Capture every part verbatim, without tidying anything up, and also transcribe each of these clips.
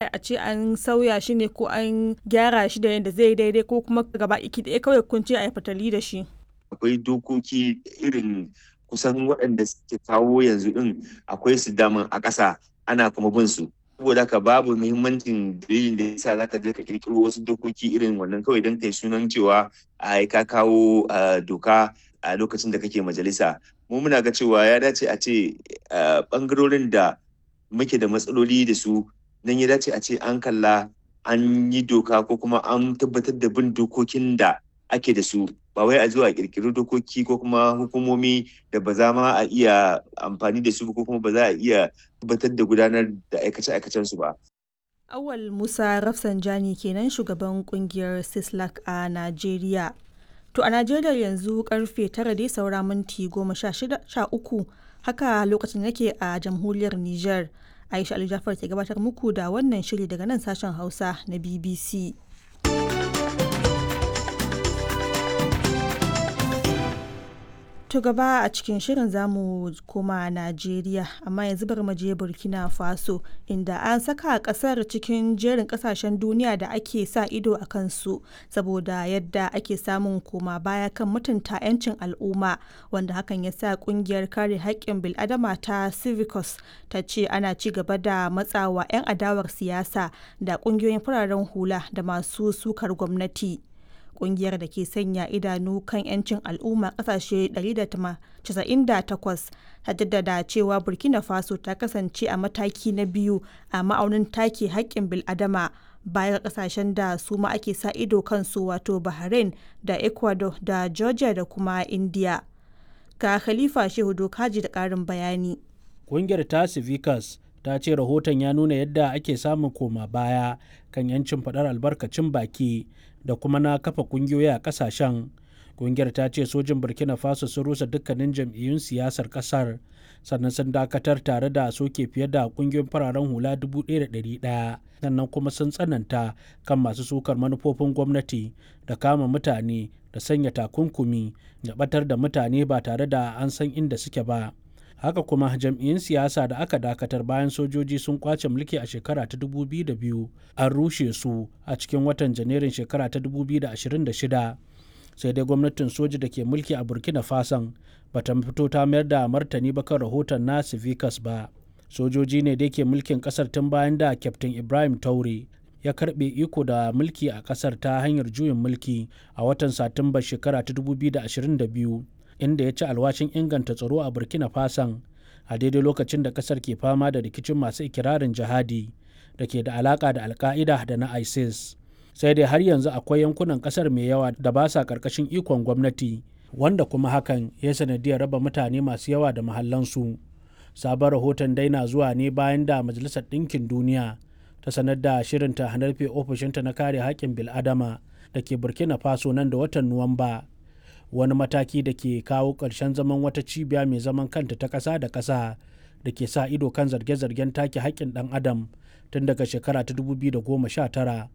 A ce an sauya shi ne ko an gyara shi da yadda zai daidai, ko kuma gaba iki ɗaya kawai kun ce a yi fatali da shi? Akwai dokoki irin kusan waɗanda suke kawo yanzu ɗin, akwai su daman a ƙasa, ana kuma bin su. Saboda haka babu muhimmancin dalilin da yasa zaka je ka kirkiro wasu dokoki irin wannan kawai don kai sunan cewa ai ka kawo doka a lokacin da kake majalisa. Mu muna ga cewa ya dace a ce bangarorin da muke da matsaloli da su nan ya dace a ce an kalla an yi doka ko kuma an tabbatar da bin dokokin da ake da su, ba wai a zuwa kirkiri dokoki ko kuma hukumomi da ba za ma a iya amfani da su ko kuma ba za a iya tabbatar da gudanar da aikace-aikacen su ba. Awal Musa Rafsanjani kenan, shugaban kungiyar Sislak a Najeriya. To, a Najeriya yanzu karfe tara dai saura minti goma sha uku, haka lokacin yake a jamhuriyar Nijar. Aisha Ali Jafar ke gabatar muku da wannan shiri daga nan sashen Hausa na B B C. To, gaba a cikin shirin zamu koma Najeriya, amma yanzu bari mu je Burkina Faso, inda an saka kasar cikin jerin kasashen duniya da ake sa ido a kansu saboda yadda ake samun koma baya kan mutunta 'yancin al'umma, wanda hakan ya sa kungiyar kare haƙƙin bil'adama ta Civicus ta ce ana ci gaba da matsawa 'yan adawar siyasa da ƙungiyoyin fararen hula da masu sukar gwamnati. Kungiyar da ke sanya idanu kan 'yancin al'umma kasashe ɗari da casa'in da takwas ta jaddada cewa Burkina Faso ta kasance a mataki na biyu a ma'aunin take haƙƙin bil'adama, baya ga kasashen da su ma ake sa ido kansu, wato Bahrain da Ecuador da Georgia da kuma India. Ga Khalifa Shehu Dokaji da ƙarin bayani. Kungiyar ta Civicus ta ce rahoton ya nuna yadda ake samun koma baya kan 'yancin faɗar albarkacin baki da kuma na kafa kungiyoyi a kasashen. Kungiyar ta ce sojin Burkina Faso sun rusa dukkanin jam'iyyun siyasar kasar, sannan sun dakatar tare da soke fiye da kungiyoyin fararen hula dubu ɗaya da ɗari ɗaya, sannan kuma sun tsananta kan masu sukar manufofin gwamnati da kama mutane da sanya takunkumi da batar da mutane ba tare da an san inda suke ba. Haka kuma jam'iyyun siyasa da aka dakatar bayan sojoji sun kwace mulki a shekara ta dubu biyu da biyu an rushe su a cikin watan Janairun shekara ta dubu biyu da ashirin da shida. Sai dai gwamnatin soji da ke mulki a Burkina Fason bata fito ta mayar da martani ba kan rahoton na Civicus ba. Sojoji ne da ke mulkin kasar tun bayan da Kyaftin Ibrahim Taure ya karbe iko da mulki a kasar ta hanyar juyin mulki a watan Satumba shekara ta dubu biyu da ashirin da biyu, inda ya ci alwashin inganta tsaro a Burkina Fason a daidai lokacin da kasar ke fama da rikicin masu ikirarin jihadi da ke da alaka da Alka'ida da na ISIS. Sai dai har yanzu akwai yankunan kasar mai yawa da ba sa karkashin ikon gwamnati, wanda kuma hakan ya sanadiyar raba mutane masu yawa da mahallansu. Sabon rahoton dai na zuwa ne bayan da Majalisar Ɗinkin Duniya ta sanar da shirinta rufe ofishinta na kare haƙƙin bil'adama da ke Burkina Faso nan da watan Nuwamba, wani mataki da ke kawo ƙarshen zaman wata cibiya mai zaman kanta ta ƙasa da ƙasa da ke sa ido kan zarge-zargen take haƙƙin ɗan adam tun daga shekara ta dubu biyu da goma sha tara.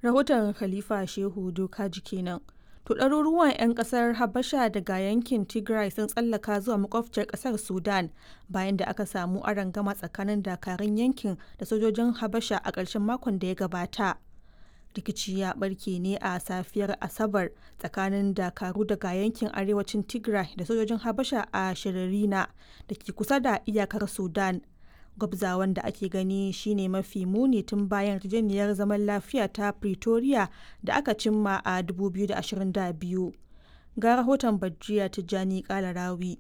Rahoton Khalifa Shehu Dokaji kenan. To, ɗaruruwan 'yan ƙasar Habasha daga yankin Tigray sun tsallaka zuwa makwabciyar ƙasar Sudan bayan da aka samu arangama tsakanin dakarun yankin da sojojin Habasha a ƙarshen makon da ya gabata. Rikici ya barke ne a safiyar Asabar tsakanin dakaru daga yankin arewacin Tigray da sojojin Habasha a Shiririna da ke kusa da iyakar Sudan. Gwabzawan da ake gani shine mafi muni tun bayan yarjejeniyar zaman lafiya ta Pretoria da aka cimma a dubu biyu da ashirin da biyu. Ga rahoton Badriya Tijjani Kalarawi.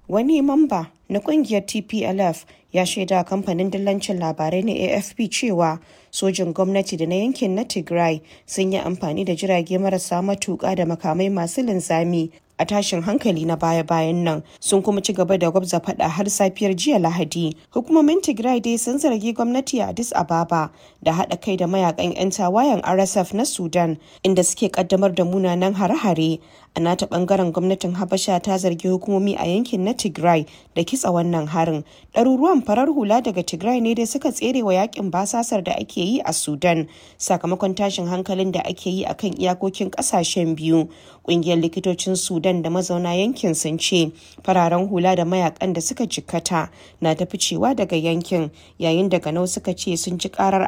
Wani mamba na kungiyar T P L F ya shaida kamfanin dillancin labarai na A F P cewa sojin gwamnati da na yankin na Tigray sun yi amfani da jirage marasa matuƙa da makamai masu linzami a tashin hankali na baya-bayan nan, sun kuma ci gaba da gwabza fada har safiyar jiya Lahadi. Hukumomin Tigray dai sun zargi gwamnati a Addis Ababa da haɗa kai da mayakan 'yan tawayen R S F na Sudan, inda suke kaddamar da munanan hare-hare. A nata bangaren, gwamnatin Habasha ta zargi hukumomi a yankin na Tigray da kitsa wannan harin. Ɗaruruwan farar hula daga Tigray ne dai suka tsere wa yakin basasar da ake yi a Sudan sakamakon tashin hankalin da ake yi akan iyakokin ƙasashen biyu. Ƙungiyar likitocin Sudan da mazauna yankin sun ce fararen hula da mayakan da suka jikkata na ta ficewa daga yankin, yayin da ganau suka ce sun ji karar